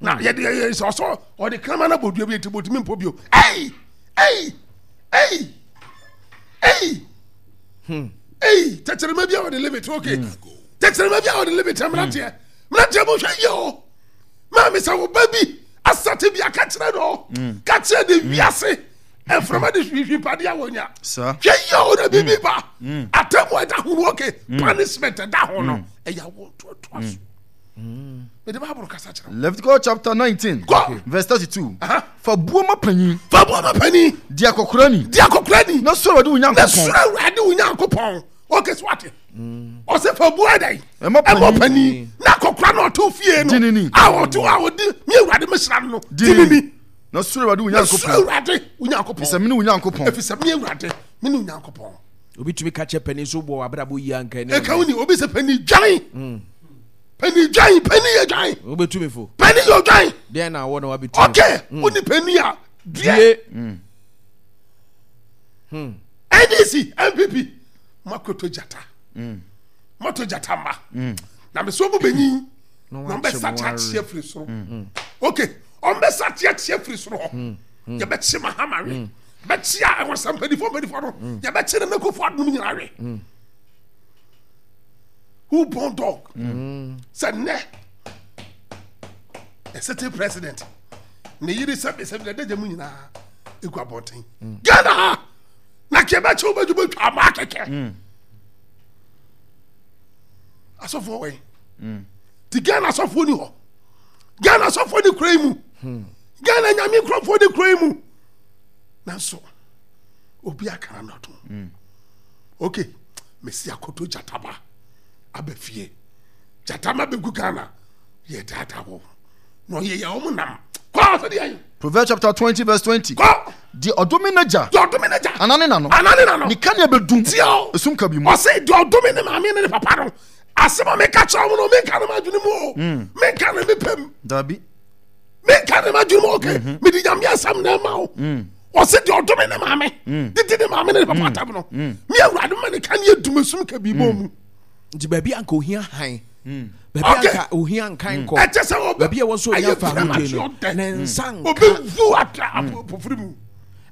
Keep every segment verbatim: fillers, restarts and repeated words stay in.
Na yɛde yɛ sɛ ɔsɔ ɔde kraman no abɔ dua bi, nti bɔtumi mpɔ bio. Ei, ei, ei, ei, ei, tɛkyerɛma bi a wɔde limit. Okay, tɛkyerɛma bi a wɔde limit. Mmeranteɛ, mmeranteɛ, mo hwɛ yie o. Maame, sɛ wo ba bi asate bi aka kyerɛ no, ka kyerɛ de wiase mframa de hwihwi padeɛ a wɔnya. Saa. Hwɛ yie o, na biribi ba atamu a ɛda ho no. Okay, punishment ɛda ho no, ɛyɛ awo ntoatoa so. Mede Bible kasa kyerɛ wo. Leviticus chapter nineteen. Go. Verse thirty-two. Aha. Fa buo ma panyin. Fa buo ma panin. Di akɔkora ni. Di akɔkora ni. Na suro Awurade wo na Nyankopɔn. Suro Awurade wo Nyankopɔn. Okay, so wate ɔsɛ fa buo ɛdɛn? Ɛma ɛmɔ panyin. panin na akɔkora na ɔto fie no Di ne ni. a ɔto a ɔdi mi Awurade mesra no no. Di di ne ne ni. ni. Na suro Awurade wo Na suro Nyankopɔn. Awurade wo Nyankopɔn. Efisɛ mene wo Nyankopɔn. Ɛfiri sɛ me Awurade me ne wo Nyankopɔn. Obi tumi ka kyɛ panin so bɔ abrabɔ yie anka ɛne Ɛka wo ni obi sɛ panin dwan, panin dwan, panin yɛ dwan. Wobɛtumi fo. Panin yɛ dwan. Deɛ na awɔ na wabɛtumi. Okay, wo ni panin a due. Die. N D C, N P P, makoto gyata, moto gyata ma na mesɛ ɔmo bɛnyin na na ɔmbɛsa wakyɛ mo kyeakyea firi soro. Okay, ɔmbɛsa kyeakyea firi soro hɔ. Yɛbɛkye Mahama we, bɛkye a ɛwɔ sɛ mpanimfoɔ mpanimfoɔ no, yɛbɛkye ne Akufo Addo nom nyinaa we. Who born dog? Sɛ nnɛ a certain president ne yere sɛbi sɛbi na dagya mu nyinaa egu abɔnten Ghana ha na kɛ bɛkye wo bɛdwo bɛtwa ama akɛkɛ asɔfoɔ wɔ yi ti. Ghana asɔfoɔ ni hɔ, Ghana asɔfoɔ ni kura yi mu, Ghana Nyame nkurɔfoɔ ni kura yi mu, nanso obi akara nɔto. Okay, mesi akoto gyataba aba fie, gyatama bɛgu Ghana, yɛ daadaa wɔ na ɔyɛ yɛ ɔmo nam kɔ sɛdeɛ yi. Proverbs chapter twenty verse twenty. Kɔ. Deɛ ɔdome n'agya Deɛ ɔdome n'agya anaa ne na no, anaa ne na no, ne kanea bɛdum Tie o. esum kabi mu. Ɔse deɛ ɔdome ne maame ne ne papa no, asɛm a meka kyerɛ wo no, menka no m'adwene mu o, menka no mepɛm. Dabi. Menka ne m'adwene mu. Okay, mede Nyame asɛm na ɛma wo. Ɔse deɛ ɔdome ne maame, didi ne maame ne ne papa atam no, me Awurade ma ne kanea dum esum kabi bɔ mu. Nti baabi anka ohia han, baabi Okay. anka ohia nkan kɔ, Ɛkyɛ sɛ ɔbɛ baabi a ɛwɔ so ohia ɛyɛ fa ahodie no premature. ne nsa nka. Ɔbɛwu atra apofiri mu.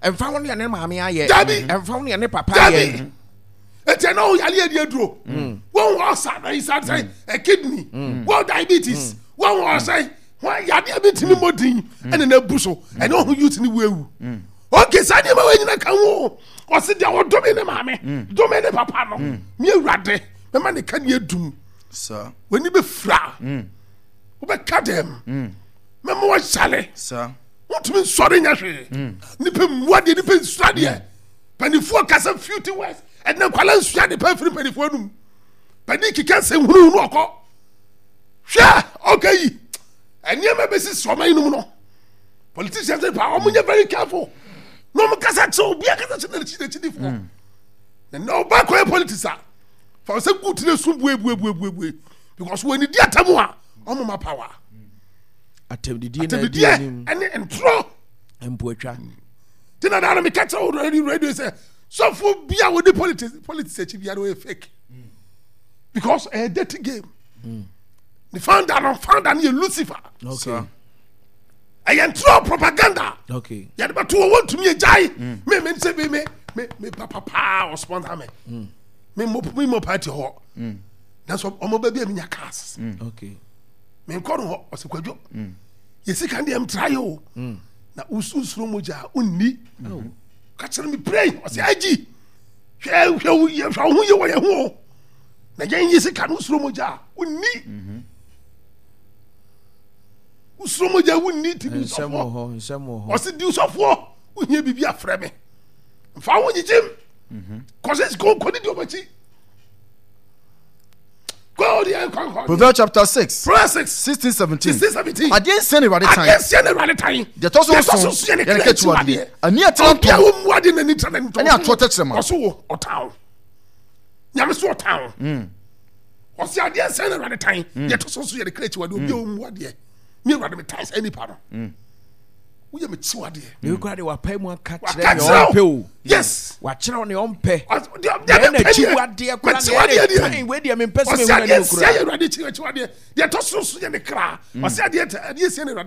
Ɛmfa ho ne ne maame ayɛ. Dabi. Ɛmfa ho ne ne papa Dabi. ayɛ. Ɛti ɛna wo yale adi aduro, wɔn wɔ ɔsa na yi sa sɛ ɛ kidney, wɔn diabetes, wɔn wɔ ɔsɛ wɔn yadeɛ bi tumi mɔ din ɛna na ebu so ɛna ɔho youth ni wu ewu. Okay, saa nneɛma wɔ nyina ka ho. Ɔsi deɛ ɔdome ne maame, dome ne papa no, mi Awurade mɛma ne ka ne edum. Saa. W'ani bɛ fira, wobɛka dɛm, mɛma wɔhyale. Saa. Wotumi nsɔre nyɛ hwee. Nipa mmua deɛ, nipa nsua deɛ. Mpanimfoɔ kasa filthy words. Ɛnna nkwala nsua de pa firi mpanimfoɔ anum. Panin keka nsɛm hunu no, ɔkɔ hwɛ ɔka yi nneɛma bɛsisi ɔman yi nom no. Politicians pa, wɔn nyɛ very careful na wɔn kasa kyerɛ obi akasa kyerɛ n'akyi n'akyidifoɔ. Na na ɔba kɔyɛ politics a, fa sɛ gu tiri so bue bue bue bue bue, because wɔn ani di atam a wɔn ma power. Atɛmdidie na adi atɛmdidiɛ anim. Ɛne ntorɔ. Mpoatwa. Ti na daana meka kyerɛ wo radio radio sɛ sɔfo bi a wɔdi politics politics akyi biara ɔyɛ fake, because ɛyɛ dirty game. Ne founder no founder no yɛ Lucifer. Okay ɛyɛ ntorɔ, propaganda. Okay yɛde bɛto wɔ wɔntumi agyae. me me sɛ me me me me papa paa ɔsponsor me me mo me mo party hɔ, nanso ɔmo bɛ bi a menya cars. Okay me nkɔ no hɔ. Ɔsɛ Kwadwo yɛsi kan deɛ mtra yɛ o, na wosuro mogya a wonni ka kyerɛ me pray. Ɔsɛ agyi hwɛ, hwɛ wo yɛ, hwɛ wo ho yɛ wɔ yɛn ho o, na yɛn yɛ sika no, wosuro mogya a wonni, wosuro mogya a wonni ti di Nsɛm wɔ sɔfoɔ. hɔ, nsɛm wɔ hɔ. Ɔsɛ di sɔfoɔ, wohia biribi afrɛ me, mfa wo nyigyim kɔsɛ sika nkɔdi di ɔmakyi kɔ ɔde kɔ kɔ. Proverbs chapter six. Proverbs six. Sixteen, seventeen. Sixteen, seventeen. Adeɛ nsia na Awurade tan. Adeɛ nsia na Awurade tan. Deɛ ɛtɔ so Deɛ ɛtɔ so nson nson yɛ ne yɛ ne kra akyiwadeɛ. akyiwadeɛ. Ani a ɛtena Obi a ntɔn wɔmmu adeɛ n'ani tra n'ani ɛne atoɔ tɛkyerɛma. Ɔso wo ɔtan wo. Nyame so ɔtan wo. Ɔsi adeɛ nsia na Awurade tan. Deɛ ɛtɔ so nson yɛ ne kra akyiwadeɛ. Obi a wɔmmu adeɛ, mi Awurade mi tan saa nipa no. Woyɛ me kyiwadeɛ. Na ekura de wapae mu aka Waka kyerɛ nea kyerɛ ɔmpɛ wo. o. Yes. Wakyerɛw nea ɔmpɛ. Ɔs- deɛ- deɛ Deɛ mepɛ deɛ, n'akyiwadeɛ kora m'akyiwadeɛ nea deɛ. ɛna tan wei deɛ mempɛ sɛ Ɔsi mehu adeɛ n'anim nsia yɛ kora. Awurade akyi akyiwadeɛ. Deɛ ɛtɔ so nson yɛ ne kra. Ɔsi adeɛ adeɛ nsia na Awurade